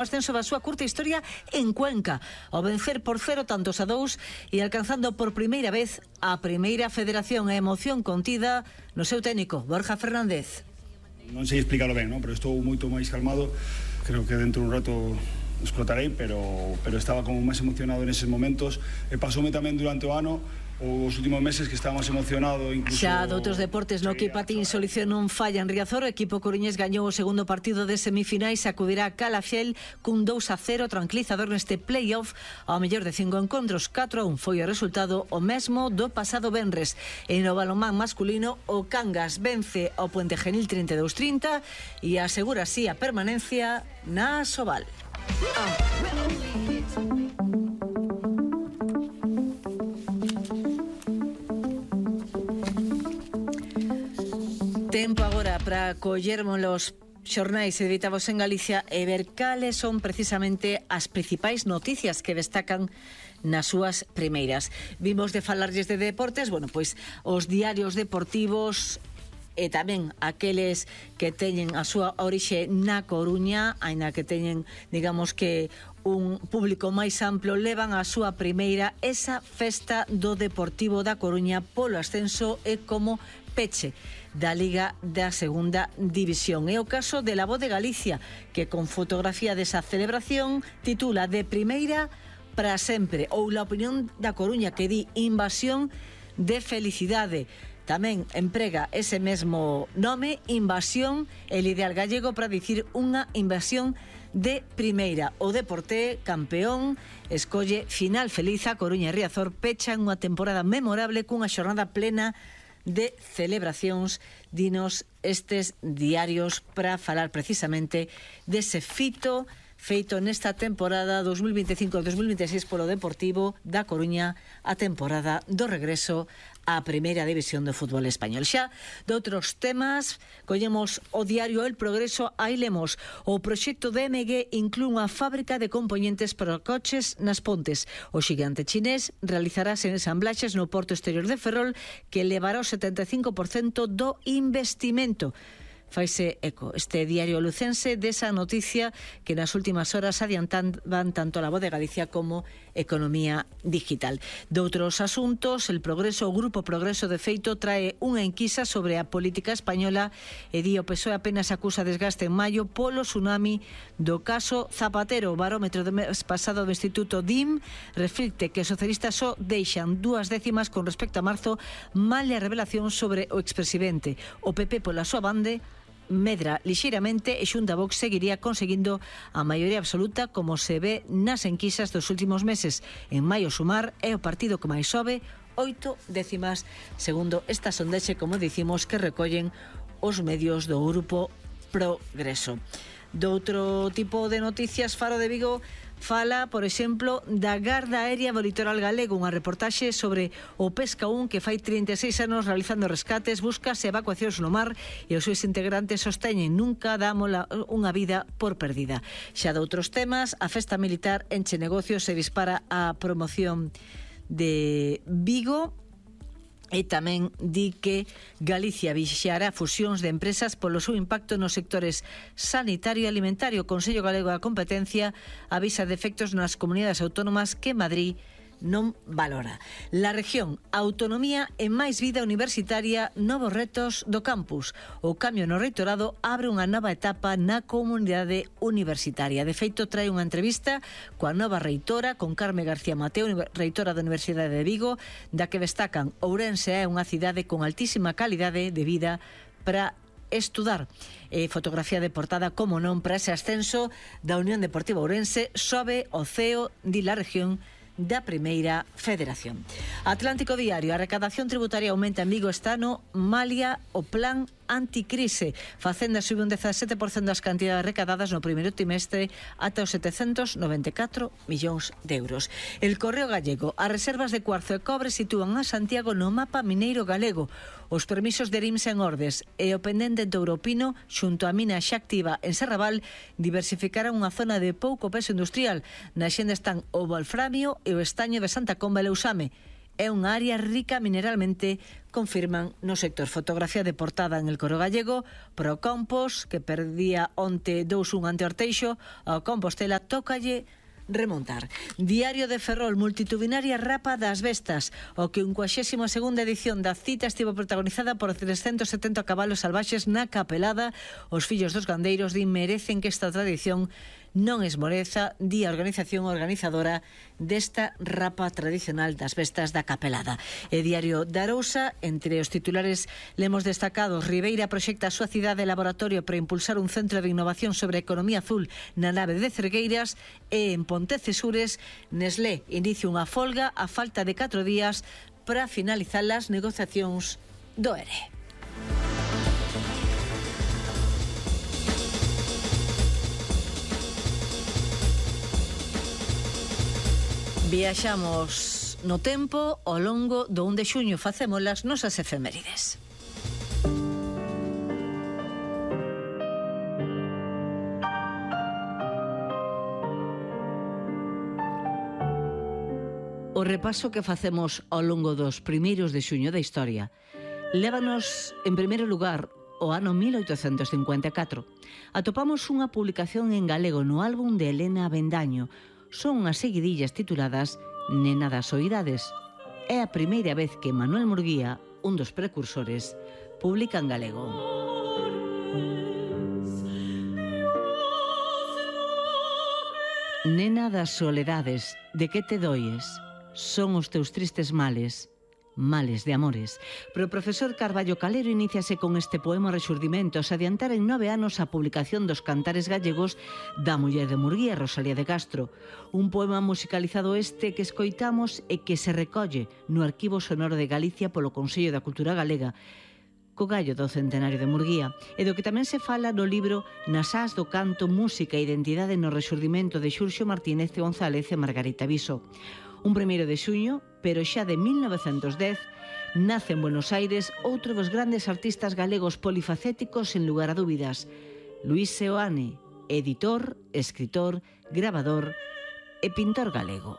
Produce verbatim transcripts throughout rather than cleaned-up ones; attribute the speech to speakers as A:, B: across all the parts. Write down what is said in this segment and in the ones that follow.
A: ascenso da súa curta historia en Cuenca, ao vencer por cero tantos a dous e alcanzando por primeira vez a primeira federación. A emoción contida no seu técnico, Borja Fernández.
B: Non sei explicarlo ben, non? Pero estou moito máis calmado. Creo que dentro dun rato explotarei, pero, pero estaba como máis emocionado neses momentos. E pasoume tamén durante o ano, os últimos meses, que estaba máis emocionado. Incluso...
A: Xa doutros deportes, no que patín solución non falla en Riazor. O equipo coruñés gañou o segundo partido de semifinais, acudirá a Calafiel cun dous a cero tranquilizador neste play-off. Ao mellor de cinco encontros, catro a un foi o resultado, o mesmo do pasado venres. E no balonmán masculino, o Cangas vence ao Puente Genil trinta e dous a trinta e asegura así a permanencia na Asobal. Ah. Tempo agora para collermos los xornais editados en Galicia e ver cales son precisamente as principais noticias que destacan nas súas primeiras. Vimos de falarlles de deportes, bueno, pois os diarios deportivos e tamén aqueles que teñen a súa orixe na Coruña, aínda que teñen, digamos que un público máis amplo, levan a súa primeira esa festa do Deportivo da Coruña polo ascenso e como peche da Liga da Segunda División. É o caso de La Voz de Galicia, que con fotografía desa celebración titula De primeira para sempre, ou La Opinión da Coruña, que di invasión de felicidade. Tamén emprega ese mesmo nome, invasión, el ideal gallego para dicir unha invasión de primeira. O Deporte, campeón, escolle final feliz. A Coruña e Riazor pechan unha temporada memorable cunha xornada plena de celebracións, dinos estes diarios, para falar precisamente dese fito feito nesta temporada dos mil veinticinco dos mil veintiséis polo Deportivo da Coruña, a temporada do regreso á primeira división do fútbol español. Xa doutros temas, collemos o diario El Progreso. Aí lemos: o proxecto de M G inclúe unha fábrica de componentes para coches nas Pontes. O xigante chinés realizará ensamblaxes no porto exterior de Ferrol, que levará o setenta e cinco por cento do investimento. Faise eco este diario lucense desa noticia que nas últimas horas adiantaban tanto La Voz de Galicia como Economía Digital. Doutros asuntos, El Progreso, o Grupo Progreso de feito trae unha enquisa sobre a política española e di o P S O E apenas acusa desgaste en maio polo tsunami do caso Zapatero. O barómetro do mes pasado do Instituto D I M reflicte que os socialistas só deixan dúas décimas con respecto a marzo, male a revelación sobre o expresidente. O P P pola súa bande medra lixeiramente e Xunta Vox seguiría conseguindo a maioría absoluta, como se ve nas enquisas dos últimos meses. En maio Sumar é o partido que máis sobe, oito décimas, segundo esta sondexe, como dicimos, que recollen os medios do Grupo Progreso. Doutro tipo de noticias, Faro de Vigo fala, por exemplo, da Garda Aérea do Litoral Galego, unha reportaxe sobre o Pesca un que fai trinta e seis anos realizando rescates, buscas e evacuacións no mar, e os seus integrantes sosteñen nunca damos unha vida por perdida. Xa doutros temas, a festa militar enche negocios e dispara a promoción de Vigo. E tamén di que Galicia vixiará fusións de empresas polo seu impacto nos sectores sanitario e alimentario. O Consello Galego da Competencia avisa de efectos nas comunidades autónomas que Madrid non valora. La región, autonomía e máis vida universitaria, novos retos do campus. O cambio no reitorado abre unha nova etapa na comunidade universitaria. De feito, trae unha entrevista coa nova reitora, con Carme García Mateo, reitora da Universidade de Vigo, da que destacan Ourense é unha cidade con altísima calidade de vida para estudar. E fotografía de portada, como non, para ese ascenso da Unión Deportiva Ourense, sobe o C E O de la región da Primeira Federación. Atlántico Diario, a recadación tributaria aumenta en Vigo este ano, malia o plan anticrise. Facenda sube un dezasete por cento das cantidades recadadas no primeiro trimestre ata os setecentos noventa e catro millóns de euros. El Correo Gallego, as reservas de cuarzo e cobre sitúan a Santiago no mapa mineiro galego. Os permisos de Rims en Ordes e o pendente do Europino xunto a mina xa activa en Serrabal diversificarán unha zona de pouco peso industrial. Na xenda están o wolframio e o estaño de Santa Comba e Leusame. é unha área rica mineralmente, confirman no sector. Fotografía de portada en El Coro Gallego pro Compos, que perdía onte dous un ante Orteixo, ao Compostela tócalle remontar. Diario de Ferrol, multitudinaria rapa das bestas. O quincuagésima segunda edición da cita estivo protagonizada por trescentos setenta cabalos salvaxes na Capelada. Os fillos dos gandeiros din merecen que esta tradición non esmoreza, di a organización organizadora desta rapa tradicional das bestas da Capelada. E Diario da Arousa, entre os titulares lemos destacados: Ribeira proxecta a súa cidade laboratorio para impulsar un centro de innovación sobre economía azul na nave de Cergueiras. E en Pontecesures, Nestlé inicia unha folga a falta de catro días para finalizar as negociacións do E R E. Viaxamos no tempo ao longo do un de xuño, facemos as nosas efemérides. O repaso que facemos ao longo dos primeiros de xuño da historia lévanos, en primeiro lugar, ao ano mil oitocentos cincuenta e catro. Atopamos unha publicación en galego no álbum de Elena Avendaño. Son unhas seguidillas tituladas Nena das Oidades. É a primeira vez que Manuel Murguía, un dos precursores, publica en galego. Nena das soledades, de que te doies? Son os teus tristes males, males de amores. Pero o profesor Carballo Calero iníciase con este poema Rexurdimentos, adiantar en nove anos a publicación dos cantares gallegos da muller de Murguía, Rosalía de Castro. Un poema musicalizado este que escoitamos e que se recolle no Arquivo Sonoro de Galicia polo Consello da Cultura Galega, co gallo do centenario de Murguía, e do que tamén se fala no libro Nas ás do canto, música e identidade no Rexurdimento de Xurxo Martínez González e Margarita Viso. Un primeiro de xuño, pero xa de mil novecentos dez, nace en Buenos Aires outro dos grandes artistas galegos polifacéticos sen lugar a dúbidas, Luís Seoane, editor, escritor, grabador e pintor galego.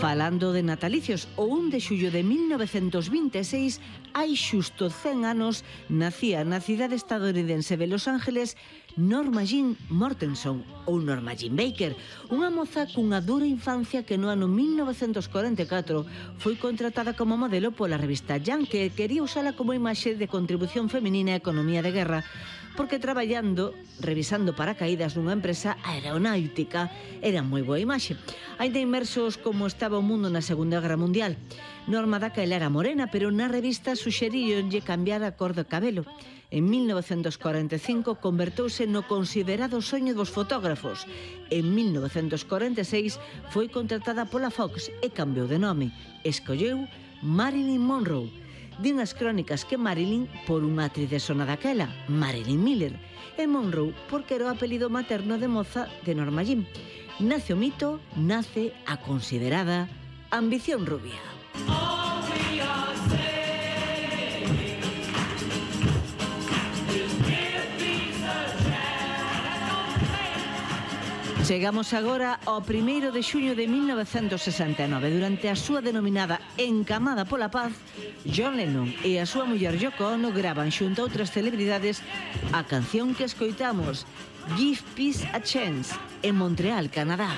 A: Falando de natalicios, o un de xullo de mil novecentos vinte e seis, hai xusto cen anos, nacía na cidade estadounidense de Los Ángeles Norma Jean Mortenson, ou Norma Jean Baker, unha moza cunha dura infancia que no ano mil novecentos corenta e catro foi contratada como modelo pola revista Jan, que quería usala como imaxe de contribución feminina á economía de guerra, porque traballando, revisando paracaídas nunha empresa aeronáutica, era moi boa imaxe. Ainda inmersos como estaba o mundo na Segunda Guerra Mundial. Norma daquela era morena, pero na revista suxeríronlle cambiar a cor do cabelo. En mil novecentos corenta e cinco convertouse no considerado soño dos fotógrafos. En mil novecentos corenta e seis foi contratada pola Fox e cambiou de nome. Escolleu Marilyn Monroe. Din as crónicas que Marilyn por unha actriz de sona daquela, Marilyn Miller, e Monroe porque era o apelido materno de moza de Norma Jean. Nace o mito, nace a considerada ambición rubia. Chegamos agora ao primeiro de xuño de mil novecentos sesenta e nove. Durante a súa denominada Encamada pola Paz, John Lennon e a súa muller Yoko Ono gravan xunto a outras celebridades a canción que escoitamos, Give Peace a Chance, en Montreal, Canadá.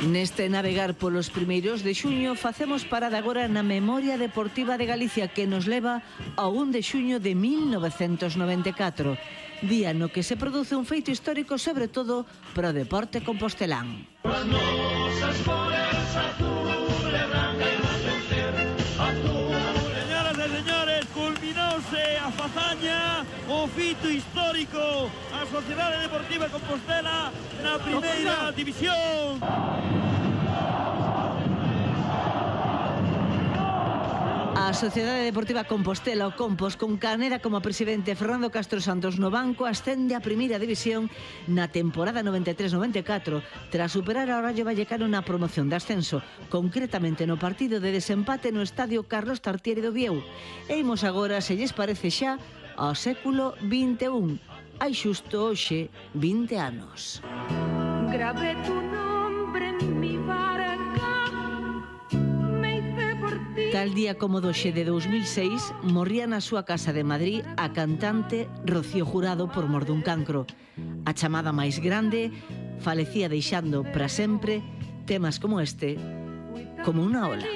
A: Neste navegar polos primeiros de xuño facemos parada agora na memoria deportiva de Galicia, que nos leva ao un de xuño de mil novecentos noventa e catro, día no que se produce un feito histórico sobre todo pro deporte compostelán.
C: Señoras e señores, culminouse a fazaña, o fito histórico, a Sociedade Deportiva Compostela na primeira división.
A: A Sociedade Deportiva Compostela, o Compos, con Caneda como presidente, Fernando Castro Santos no banco, ascende a primeira división na temporada noventa e tres noventa e catro, tras superar ao Rayo Vallecano na promoción de ascenso, concretamente no partido de desempate no estadio Carlos Tartiere do Vieu. E imos agora, se lles parece xa, ao século vinte e un. Hai xusto hoxe vinte anos.
D: Grabé tu nombre en mi barca, me hice por ti.
A: Tal día como doxe de dous mil seis, morría na súa casa de Madrid a cantante Rocío Jurado por mor dun cancro. A chamada máis grande falecía deixando para sempre temas como este, como unha ola.